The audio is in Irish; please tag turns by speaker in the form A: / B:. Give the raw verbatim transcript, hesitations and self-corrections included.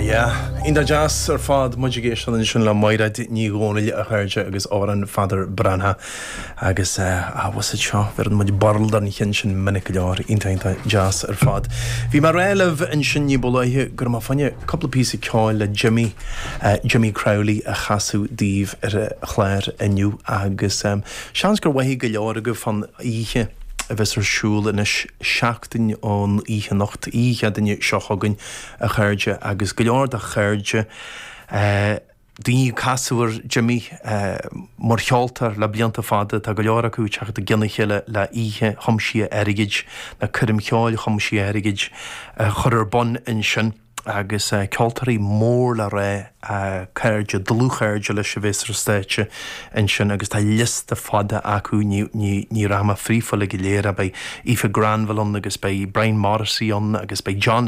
A: yeah. Iontach deas ar fad muid ag éisteacht ansin le Mairéad Ní Dhomhnaill a chairde agus amhrán Pheadair Breathnach agus bhus seo bheireann muid barld an chin sin minic go leor iontach deas ar fad. Bhí mé ag rá libh ansin ní ba luaithe go raibh mé fá choinne cúpla píosa ceoil le Jimmy uh, Jimmy Crowley a chasadh daoibh ar an chlár inniu agus um, seans gur mhothaigh go leor agaibh fan oíche a bheas ar siúl anois seachtain ón oíche anocht oíche Chéadaoine seo chugainn a chairde agus go leor de chairde uh, daoine casadh ar Jimmy uh, mar cheoltóir le blianta fada tá go leor acu teacht i gcionn a chéile le oíche thiomsaithe airgid na coirm cheoil thiomsaithe airgid uh, chur ar bun ansin agus uh, ceoltóirí mór le rá uh, cairde dlúthchairde leis a bheas ar stáitse ansin agus tá liosta fada acu ní, ní, ní rachaidh mé fríofa go léir a beidh Aoife Granville ann agus beidh Brian Morrissey ann agus beidh John